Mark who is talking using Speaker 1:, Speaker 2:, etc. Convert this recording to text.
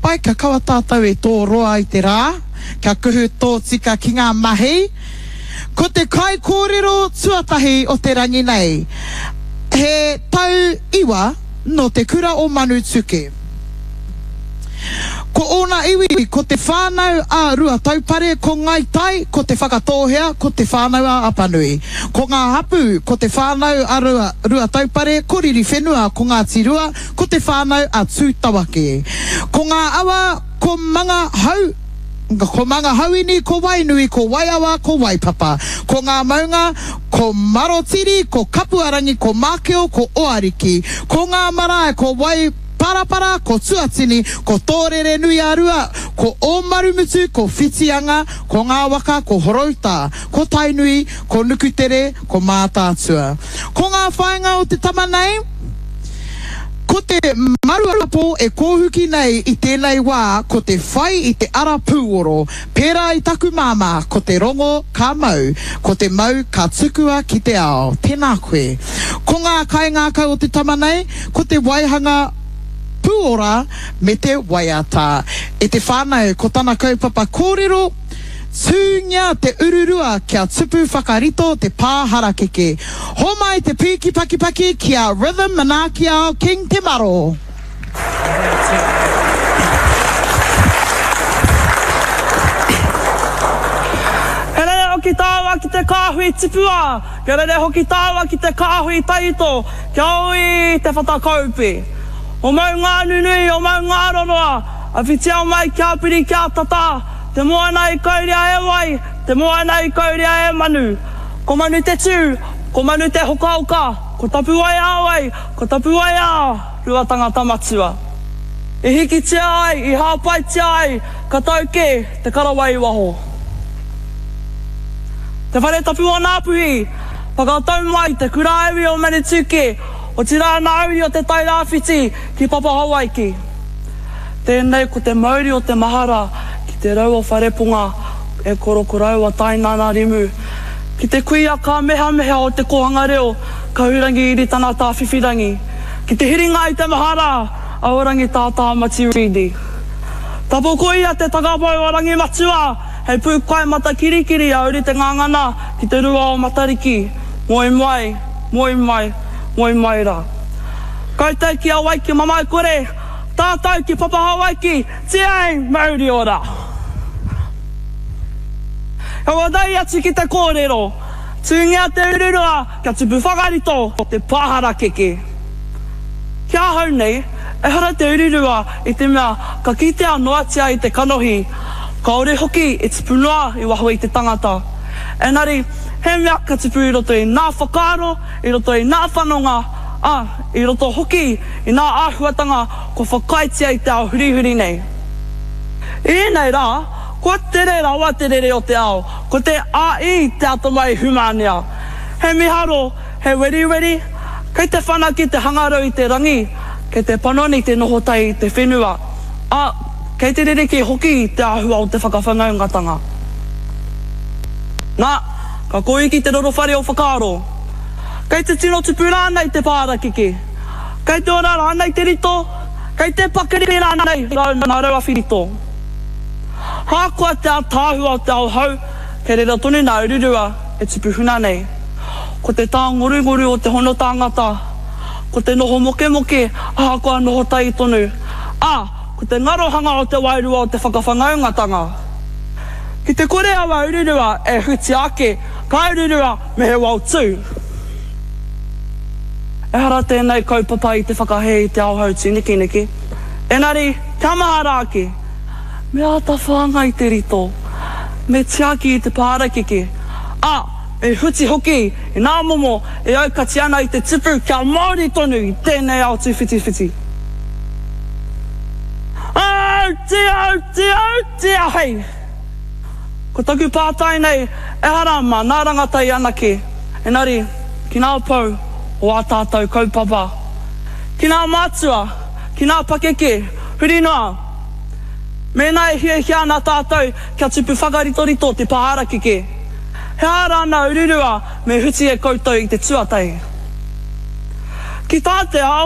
Speaker 1: pai kia kaua tātou e tō roa i te rā, kia kuhu tōtika ki ngā mahi. Ko te kaikōrero tuatahi o te rangi nei, he tau iwa nō te kura o Manutuke. Ko ōna iwi ko Te Whānau a Ruataupare, ko Ngāi Tai, ko Te Whakatōhea, ko Te Whānau a Apanui. Ko ngā hapū ko Te Whānau a Ruataupare, ko Ririwhenua, ko Ngāti Rua, ko Te Whānau a Tūtawake. Ko ngā awa ko Mangahau, ko Mangahauini, ko Wainui, ko Waiawa, ko Waipapa. Ko ngā maunga ko Marotiri, ko Kapuarangi, ko Mākeo, ko Oariki. Ko ngā marae ko Wai. Parapara, ko Tuatini, ko Tōrere-nui-a-Rua, ko Ōmarumutu, ko Whitianga, ko ngā waka, ko Horouta, ko Tainui, ko Nukutere, ko Mātaatua. Ko ngā whāinga o te tama nei, ko te maruapo e kōhuki nei i tēnei wā, ko te whai i te ara pūoro, pērā i taku māmā, ko te rongo ka mau, ko te mau ka tukua ki te ao. Tēnā koe. Ko ngā kaingākau o te tama nei, Ko te waihanga pūora me te waiata. E te whānau, ko tana kaupapa kōrero, Tūngia te ururua kia tupu whakarito te pā harakeke. Homai te pīki pakipaki ki a Rhythm Manaakiao King Te Maro.
Speaker 2: He rere hoki tāua ki te kāhui tipua, kia rere hoki tāua ki te kāhui taito, Kia ui te whatakaupe. O Maunganunui, o Maungaroroa, a whitia mai kia piri kia tata, te moana i kauria e wai, te moana i kauria e manu. Ko manu te tū, ko manu te hokaoka, ko tapuwae a wai, ko tapuwae a Ruatangata matua. I hikitia ai, i hāpaitia ai, ka tau kē te karawai i waho. Te Whare Tapu o Ngāpuhi, Whakatau mai te kura iwi o Manutuke, otirā ngā uri o Te Tai Rāwhiti ki Papahawaiki. Tēnei ko te mauri o te mahara ki te rau o Whareponga e korokoroua Tainana Rimu, ki te kuia kāmehameha o Te Kōhanga Reo Kahurangi Iritana Tāwhiwhirangi, ki te hiringa i te mahara a Orangi Tātāmati Reedy. Tapoko ia te takapau o Rangimatua! Hei pūkai matakirikiri a Uri Te Ngangana ki te rua o Matariki, moe mai, moe mai, moe mai rā. Koutou ki Hawaiki mamae kore, tātou ki Papa Hawaiki, tiei mauri ora! Ka whakatau atu ki te kōrero, tūngia te ururua kia tupu whakarito te pā harakeke. Ki ahau nei, ehara te ururua i te mea ka kitea noatia i te kanohi, kāore hoki e tipu noa i waho i te tangata. Engari, he mea ka tipu i roto i nā whakaaro, i roto i nā whanonga, ā, i roto hoki i nā āhuatanga kua whakaaetia i te ao hurihuri nei. I ēnei rā, kua tere rawa te rere o te ao, ko te AI te atamai hūmānea. He miharo, He weriweri, kei te whanake te hangarau i te rangi, kei te panoni te noho tahi i te whenua, ā, kei te rerekē hoki te āhua o te whakawhanaungatanga. Nā, ka kōiki te roro whare o whakaaro. Kei te tino tupu rānei te pārakeke? Kei te ora rānei te rito? Kei te pakari rānei ngā rauawhi rito? Ahakoa te ātaahua o te ao hou, kei reira tonu ngā ururua e tupu huna nei. Ko te tāngorungoru o te hono tāngata, ko te noho mokemoke ahakoa noho tahi tonu, ā, ko te ngarohanga o te wairua o te whakawhanaungatanga. Ki te kore aua ururua e hutia ake, ka ururua me he wao tū. Ehara tēnei kaupapa i te whakahē i te ao hautūnekeneke, engari kia mahara ake, me āta whāngai te rito, me tiaki i te pārakeke, ā, Me huti hoki i ngā momo e aukati ana i te tipu kia māori tonu i tēnei ao tūwhitiwhiti. Auti, auti, auti ahei! Ko taku pātai nei, ehara mā ngā rangatahi anake, engari ki ngā pou o ā tātou kaupapa, ki ngā mātua, ki ngā pakeke, huri noa. Mēnā e hiahia ana tātou kia tupu whakaritorito te pā harakeke, he aha rā nā ururua me huti e koutou i te tuatahi? Ki tā te ao.